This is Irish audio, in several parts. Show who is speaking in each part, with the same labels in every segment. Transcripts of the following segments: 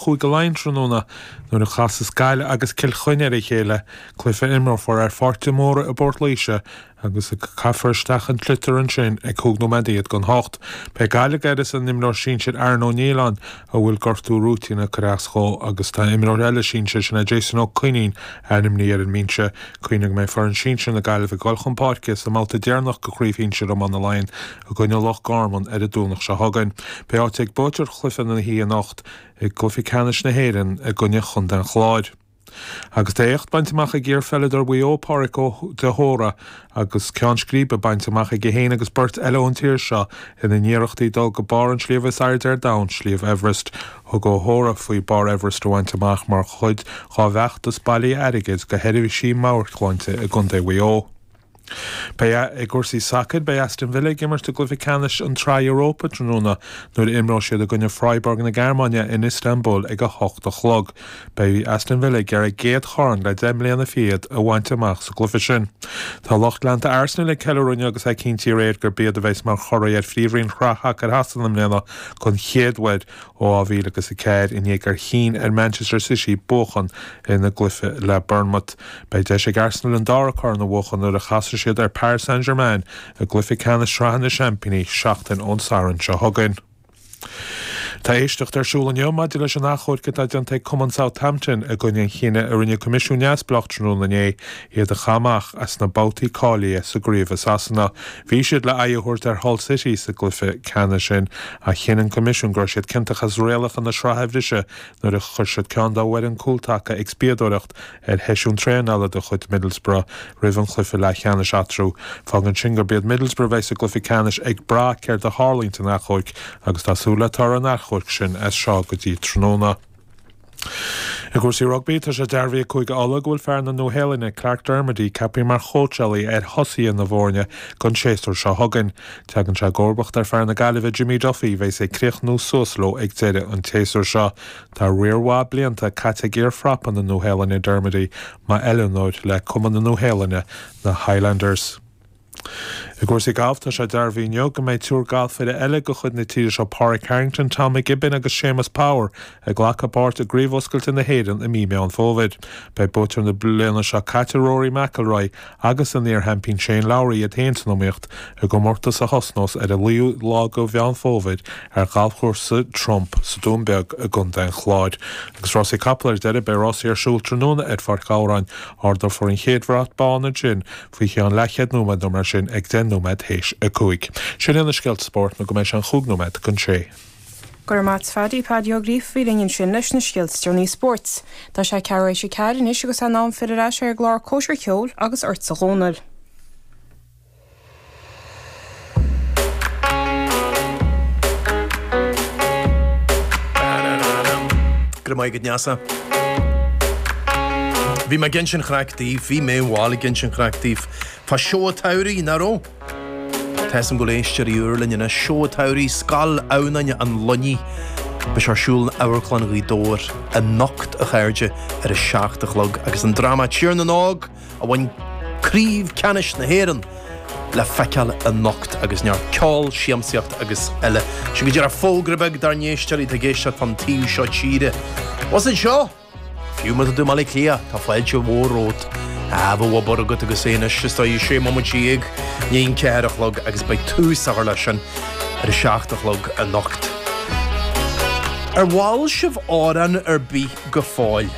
Speaker 1: Chúige Laighean tráthnóna nuair a chasas Gaillimh agus Cill Chainnigh ar a chéile, cluiche a imreofar ar Pháirc de Mórdha i bPort Laoise agus a caithfear isteach an sliotar ansin ag 15 nóiméad don hocht. Beidh Gaillimh ag uireasa an imreoir sinsir Aaron Ó Nialláin a bhfuil gortú rúitín ag cur as dhó agus tá imreoir eile sinsir, sin é Jason Ó Coinín, ainmnithe ar an mbinse. Cuimhnigh go mbeidh foireann sinsir na Gaillimhe ag dul chun páirce sa mbabhta deireanach de Chraobh Shinsir Iomána Laighean i gcoinne Loch Garman ar an Domhnach seo chugainn. Beidh áit ag buaiteoir chluiche na hoíche anocht i gcluiche ceannais na hÉireann i gcoinne Chontae an Chláir. Agus tá éacht bainte amach ag iarpheileadóir Mhaigh Eo, Pádraic de hÓra, agus ceann scríbe bainte amach aige féin agus beirt eile ón tír seo ina n-iarrachtaí dul go barr an tsléibhe is airde ar domhan, Sliabh Everest. Thug Ó hÓra faoi barr Everest a bhaint amach mar chuid dá bhfeachtas bailithe airgid do sheirbhísí meabhairshláinte i gContae Mhaigh Eo. Beidh i gcúrsaí sacair, beidh Aston Villa ag imirt i gcluiche ceannais an tSraith Europa tráthnóna nuair a imreoidh siad i gcoinne Freiburg na Gearmáine in Istanbul ag 8 a chlog. Beidh Aston Villa ag iarraidh a gcéad chorn le 10 mbliana fichead a bhaint amach sa gcluiche sin. Tá lucht leanta Arsenal ag ceiliúradh inniu agus é cinntithe aréir gurb iad a bheas mar churaidh ar Phríomhroinn Shraith Shacair Shasana i mbliana don chéad uair ó 2004 i ndiaidh gur chinn ar Manchester City buachan ina gcluiche le Bournemouth. Beidh deis ag Arsenal an dara corn a bhuachan nuair a chasfaidh siad ar Paris Saint-Germain i gcluiche ceannais Sraithe na Seaimpíní seachtain ón Satharn seo chugainn. Tá éisteacht ar siúl inniu maidir leis an achomharc atá déanta ag cumann Southampton i gcoinne an chinnidh a rinne coimisiún neamhspleách tráthnóna inné iad a chaitheamh amach as na babhtaí cáilithe sa gcraobh i Sasana. Bhí siad le aghaidh a thabhairt ar Hull City sa gcluiche ceannais sin ach chinn an coimisiún go raibh siad ciontach as rialacha na sraithe a bhriseadh nuair a chuir siad ceann dá bhfoireann cúltaca ag spiadóireacht ar sheisiún traenála de chuid Middlesbrough roimh an chluiche leathcheannais eatarthu. Fágann sin gurb iad Middlesbrough a bheidh sa gcluiche ceannais ag brath céard a tharlaíonn san achomharc agus tá súil le toradh an achomhairc sin as seo go dtí tráthnóna. I gcúrsaí rugbaí, tá sé dearbhaithe ag Cúige Uladh go bhfuil fear na Nua-Shéalainne, Clarke Dermody, ceaptha mar chóitseálaí ar thosaithe na bhfoirne don séasúr seo chugainn. Tagann sé i gcomharbacht ar fear na Gaillimhe, Jimmy Duffy, a bheas ag críochnú suas leo ag deireadh an tséasúir seo. Tá riar mhaith blianta caite ag iar-phrapa na Nua-Shéalainne, Dermody, mar oiliúnóir le cumann na Nua-Shéalainne, na Highlanders. I gcúrsaí gailf, tá sé dearbhaithe inniu go mbeidh triúr galfaire eile de chuid na tíre seo, Pádraig Harrington, Tom McGibbon agus Séamus Power, ag glacadh páirt i gCraobh Oscailte na hÉireann i mí Meán Fómhair. Beidh buaiteoir na bliana seo caite, Rory McIlroy, agus an iar-sheaimpín Shane Lowry iad féin san iomaíocht i gcomórtas a thosnós ar an 9ú lá de Mheán Fómhair ar ghalfchúrsa Trump sa Dún Beag i gContae an Chláir. Agus rásaí capall ar deireadh, beidh rásaí ar siúl tráthnóna ar Pháirc Ghabhráin. Ardófar an chéad bhrat bán ansin faoi cheann leathchéad nóiméad nó mar sin ag 10 nóiméad théis a 5. Sin iad na scéalta spóirt nó go mbeidh sé an chúig nóiméad don sé.
Speaker 2: Go raibh maith a't Phaddy, Paddy Ó Gríofa a bhí linn ansin leis na scéalta is deireanaí spóirt. Tá sé ceathrú théis a ceathair anois agus é in am filleadh ar ais ar an gclár Cóisir Cheoil agus ortsa a Dhónaill.
Speaker 3: Go raibh maith agat Neasa. Bhí mé ag insint chraic daoibh, bhí mé bhuel ag insint chraic daoibh fá seó an tsamhraidh, nach raibh? Tá 'fhios a'm go bhfuil éisteoirí úr linn anois. Seó an tsamhraidh, Scoil Adhamhnáin an Luinnigh. Beidh sé ar siúl in Amharclann Ghaoth Dobhair anocht, a chairde, ar a 7 a chlog agus an dráma Tír na nÓg, a bhain Craobh Ceannais na hÉireann le feiceáil anocht agus neart ceol, siamsaíocht agus eile. Sin go díreach fógra beag dár n-éisteoirí atá ag éisteacht fán taobh seo tíre. Bhus anseo! Fiú má tá tú i mBaile Átha Cliath, tá fáilte mhór romhat. Ah, bheadh obair agat agus é anois, is dóigh, sé bomaite i ndiaidh an ceathair a chlog agus beidh tús á chur leis sin ar a 7 a chlog anocht. Ar mhol sibh amhrán ar bith go fóill?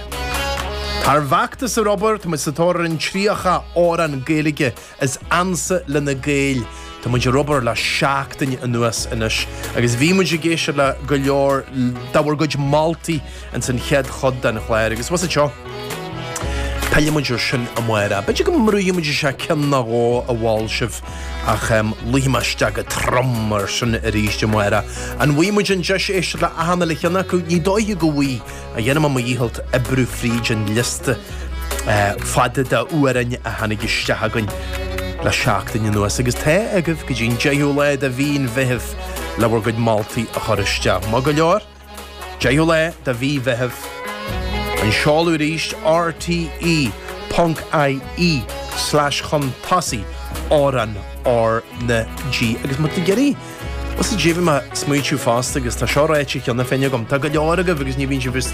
Speaker 3: Tá ár bhfeachtas ar obair, tá muid sa tóir ar an 30 amhrán Gaeilge is ansa le na Gaeil. Tá muid ar obair le seachtain anuas anois agus bhí muid ag éisteacht le go leor de bhur gcuid moltaí ins an chéad chuid den chlár agus bhus anseo pillfidh muid ar sin amárach. B'fhéidir go mbrúfaidh muid isteach ceann nó dhó a mhol sibh ach luífidh mé isteach go trom ar sin arís amárach. An bhfaighidh muid an deis éisteacht le achan uile cheann acu? Ní dóiche go bhfaighidh. A dhéanfaidh mé mo dhícheall oibriú fríd an liosta fada d'amhráin a tháinig isteach againn le seachtain anuas agus tá agaibh go dtí an 10ú lá de mhí an Mheithimh le bhur gcuid moltaí a chur isteach. Maith go leor, 10ú lá de mhí Mheithimh, an seoladh arís rte ponc ie slash chun tosaigh amhrán R na G agus má tá tú ag iarraidh. Bhuel, sea, bhí mé ag smaointiú fosta agus tá seo ráite cheana féin agam, tá go leor agaibh agus ní bhíonn sibh.